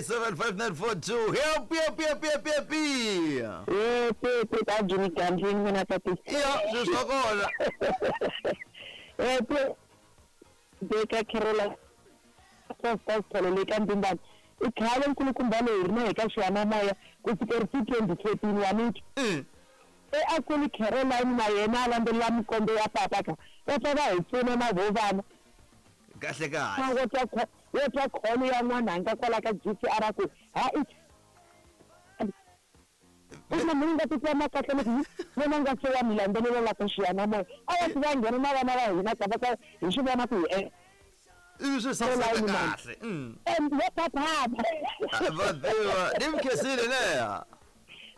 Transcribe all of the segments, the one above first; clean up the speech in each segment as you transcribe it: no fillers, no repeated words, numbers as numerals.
060 887 5942. Happy, happy, happy, happy, happy. Happy ta Jimmy Gambling n'wina tati. Iya, swilo swa kona. Happy Beka Carola Sasthole le ka Mbimbani. I khale nkulukumba leyi ri na hi ka xiyanimoya ku fikeri ti 2014 wa miti. E a ku ri Caroline na yena a landzelela mikombe ya papa ka va pfa va hi pfuna na vo vana. Kahle kahle. Wo twa kholo ya n'wananga kwala ka GCR a ku ha i una munhu nga titwa ma kahle loko vona nga se wa mi landzelela la ka xiyanimoya a va ti va nghena na vana va hina ka va ka hi swi vona ku hi ivi swi saseka kahle. And va phaphama. Va tiva ni mi khensile leya.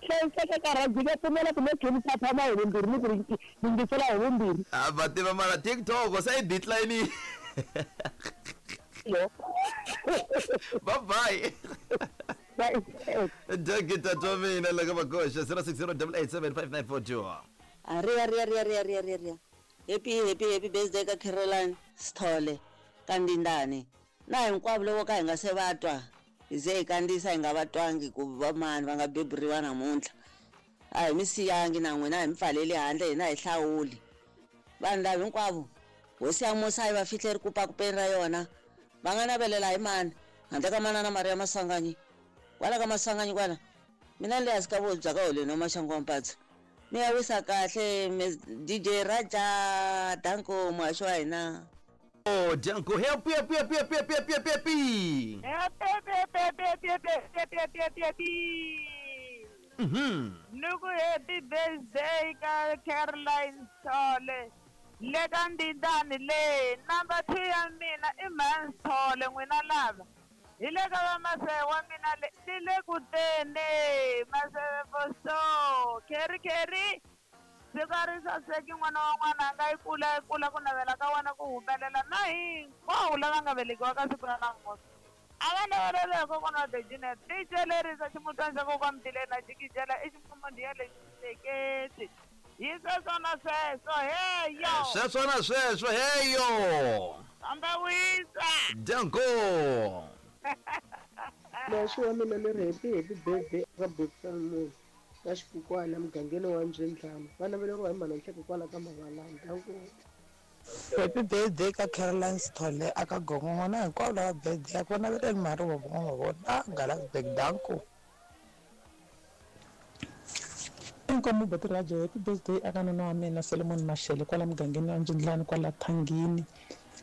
Hlayiseka ka rugby va pfumela ku me phaphama hi vumbirhi ni ku yingisela hi vumbirhi. Va tiva mara TikTok se yi decline. Bye bye. Dagita twa mina la ka makoxa 060 887 5942. Ria ria ria ria ria ria ria. Happy happy happy birthday ka Caroline Sithole ka Ndindani. Na hinkwavo loko ka hi nga se va twa hi ze hi kandziyisa hi nga va twangi ku va mani va nga beburiwa namuntlha. A hi mi siyangi na n'wina hi mi pfaleli handle hina hi hlawuli. Vanhu lava hinkwavo hosi ya musa yi va fihle rikupakupeni ra yona va nga navelela hi mani handle ka manana Maria Maswanganyi. Kwala ka Maswanganyi kwala mina ni le hansi ka vobya ka holweni wa Maxangu wa Mpatsa. Mi ya wisa kahle DJ Raja Danko muhaxi wa hina. Oh, Danko, happy, happy, happy, happy, happy, happy, happy, happy. Happy, happy, happy, happy, happy, happy, happy, happy. Nuku happy birthday ka Caroline Sithole. Le ka Ndindani le number 2 ya mina i Man Sithole n'wina lava. Hi le ka va Maseve wa mina le ni le ku teni Maseve for so Kerry Kerry. Siku a ri saseki n'wana wa n'wananga yi kula yi kula ku navela ka wena ku humelela na hinkwavo lava nga velekiwa ka siku ra namuntlha. A va navelele hi kokwana wa Dejinet DJ lerisa ximutwana xa kokwana Mtileni na jikijela i ximfumondiya lexi hleketi. Hi sweswo na sweswo heyo. Sweswo na sweswo heyo. Famba wisa. Danko. Muhaxi wa mina ni ri happy happy birthday ka Bokisa ka Xikukwana mugangeni wa Mbyindlana. Va naveleriwa hi mhana Nhleko kwala ka Mavalani. Danko. Happy birthday ka Caroline Sithole aka Gongongo na hinkwavo lava birthday ya vona va le mari wa vona vona Galasburg. Danko. Inkomu Boti Raja happy birthday aka nuna wa mina Solomon Mashele kwala mugangeni wa Mbyindlani kwala Thangini.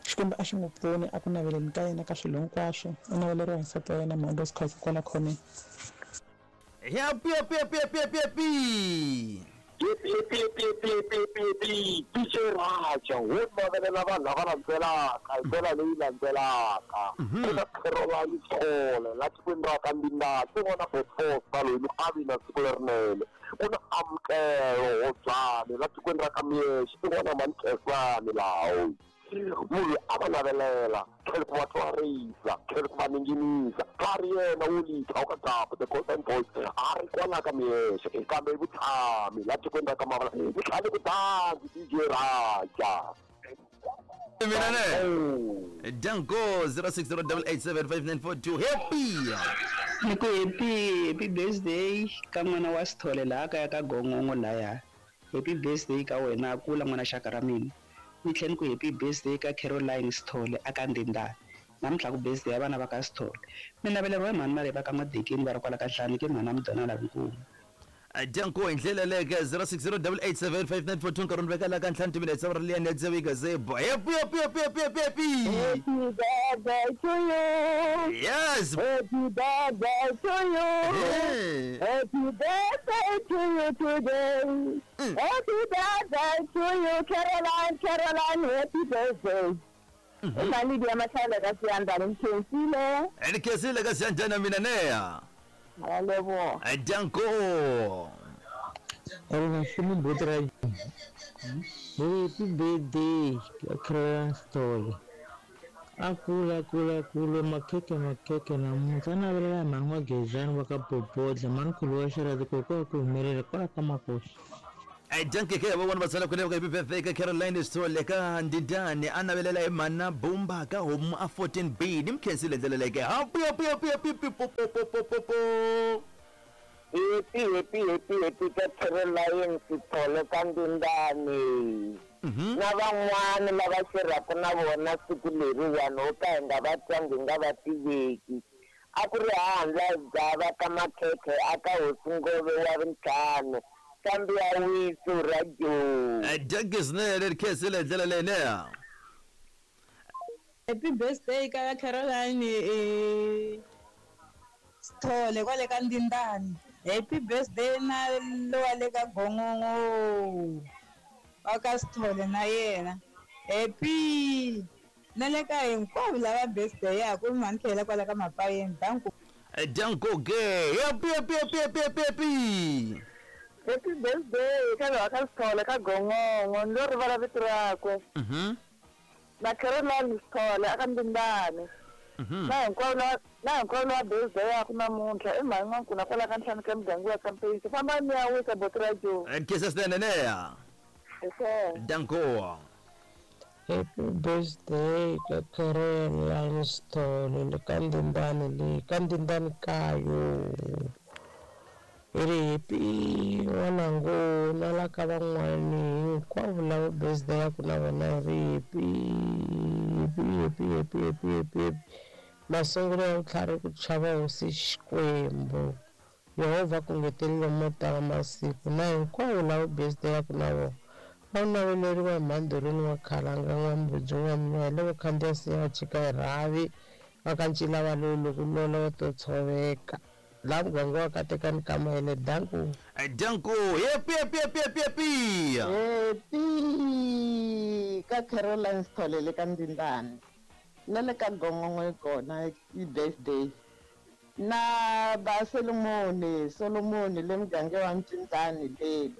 Xikwembu a xi n'wi pfuni a ku naveleni ka yena ka swilo hinkwaswo. U naveleriwa hi nsati wa yena Mhando Sikhosi kwala khoneni. Happy, happy, happy, happy, happy, happy. Happy, happy, happy, happy, happy, happy. DJ Raja, wo navelela vanhu lava landzelaka hi ndlela leyi landzelaka. Eka Caroline Sithole la tikweni ra ka Ndindani ku vona Botfosa loyi ni avi na siku lerinene. Ku na Amukelo Hobyani la tikweni ra ka Miexe i vona Mankhensani lawo. Munhu a va navelela tlhela ku va twarisa tlhela ku va ninginisa ka ri yena wo litha ka Gapo the Golden Boys a ri kwala ka Miexe kambe i vutshami la tikweni ra ka Mavala ni tlhale ku dangi DJ Raja. Mina ne. Danko 060 887 5942. Happy. Ni ku happy happy birthday ka n'wana wa Sithole laha kaya ka Gongongo laya. Happy birthday ka wena kula n'wana xaka ra mina. Ni tlhela ni ku happy birthday ka Caroline Sithole aka Ndindani. Namuntlha ku birthday ya vana va ka Sithole. Mi naveleriwa hi mhani Maleva ka Madekeni va ri kwala ka Nhlani ke mhana Mdonala Nkulu. Danko hi ndlela leke 060 887 5942 nkarhi ni veka la ka ntlhanu timinetse va ri liya nedzewika zebo. Happy, happy, happy, happy, happy, happy. Happy birthday to you. Yes. Happy birthday to you. Hey. Happy birthday to you today. Happy birthday to you Caroline, Caroline, happy birthday. Imali ya Mahlala ka Siyandana ngikhensile. Nikhensile ka Siyandana mina neya. Yebo. Danko. Happy birthday Caroline Sithole. Akula kula kula makhekhe makhekhe namuntlha navelela hi mhani wa Gezani wa ka Bobodla mhani khulu wa Xirhadzi kokwa ku humelela kwala ka Makosi. Danke ke van'wana va tsala kwale ka happy birthday ka Caroline Sithole ka Ndindani a navelela hi mhana Bumba ka homu a 14B ni mi khensile ndlela leyi ke happy happy happy happy po po po po po po. Happy happy happy happy ka Caroline Sithole ka Ndindani. Na van'wana lava xerhaka na vona siku leriwani ho ka hi nga va twangi hi nga va tiveki. A ku ri handla gava ka makhekhe a ka hosi Ngove wa vuntlhanu kambe ya wisu radio. Danke swinene ri khensile ndlela leyi neya. Happy birthday ka Caroline Sithole kwale ka Ndindani. Happy birthday na lowa le ka Gongongo wa ka Sithole na yena. Happy na le ka hinkwavo lava birthday ya ku mhani tlhela kwala ka Mapayeni. Danko. Danko ke happy happy happy happy happy happy. Happy birthday ka lowa ka Sithole ka Gongongo ndo rivala vito rakwe. Na Caroline Sithole aka Ndindani. Na hinkwavo lava birthday ya ku namuntlha i mhani n'wankuna kwala ka ntlhanu ka muganga wa Kampeyisi. Famba ni ya wisa boti ra Joe. Khensile swinene neya. Danko. Happy birthday ka Caroline Sithole le ka Ndindani le ka Ndindani kayo. Hi ri happy n'wanangu na la ka van'wani hinkwavo lava birthday ya ku na vona hi ri happy happy happy happy happy happy happy. Masungulo ya vutlhari ku chava hosi Xikwembu. Yehovha ku ngetelele mo tala masiku na hinkwavo lava birthday ya ku na vona. Va naveleriwa hi mhandhurini wa khalanga n'wambudzi n'wamnywa hi loko khandziya siya chika hi rhavi va ka ncila va loyi loko lola va to tshoveka. La muganga wa katekani ka mayele. Danko. Danko happy happy happy happy happy. Happy ka Caroline Sithole le ka Ndindani. Na le ka Gongongo yi kona i birthday. Na ba Solomon Solomon le muganga wa Mtindani lele.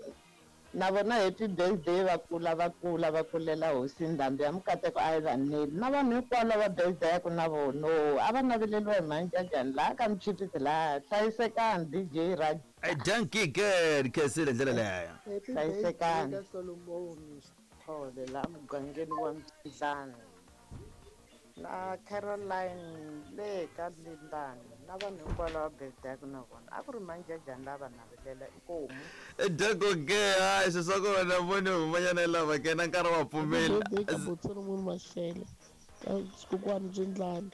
Na vona happy birthday va kula va kula va kulela hosi Ndhambi ya Mukateko a yi va neli. Na vanhu hinkwavo lava birthday ya ku na vona a va naveleriwa hi manjajani laha ka Mchipisi laha hlayisekani DJ Raj. Danke ke khensile ndlela leyo. Happy birthday ka Solomon Sithole laha mugangeni wa Mtindani. Na Caroline le ka Ndindani na vanhu hinkwavo lava birthday ya ku na vona a ku ri manjajani lava navelela inkomu. Danko ke hayi swilo swa kona voni humanyana lava ke na nkarhi wa pfumela. Happy birthday ka Solomon Mashele ka Xikokwani Ndlani.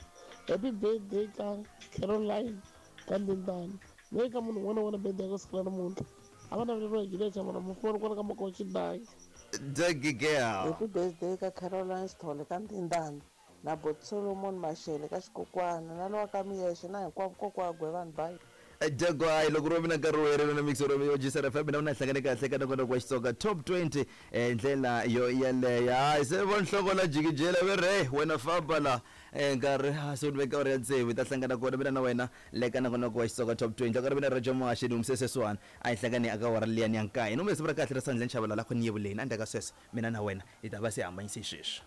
Happy birthday ka Caroline ka Ndindani. Le ka munhu un'wana na un'wana birthday ya ku siku ra namuntlha. A va naveleriwa hi Juliet Chamana mufoni kwala ka Makochi Dayi. Danke ke. Happy birthday ka Caroline Sithole ka Ndindani. Na bot Solomon Mashele ka Xikokwana na lowa ka Miyexe na hinkwavo kokwagwe vanhu bayi. Danko hayi loko ro mina nkarhi wo herela na mixer yo Jisara FM na una hlangane kahle ka nongonoko wa Xitsonga top 20 ndlela yo yeleyo. Hayi se vo nhloko la jikijela ve re wena famba la nkarhi se ni veka uri ya tsevu ta hlangana kona mina na wena le ka nongonoko wa Xitsonga top 20 nkarhi mina Roger Moashe ni umseseswana a hi hlangane aka wara liyani ya nkaye no mbe siku ra kahle ra sandleni xavala la ku ni yevuleni endzhaku ka sweswo mina na wena hi ta va se hambanyise sweswi.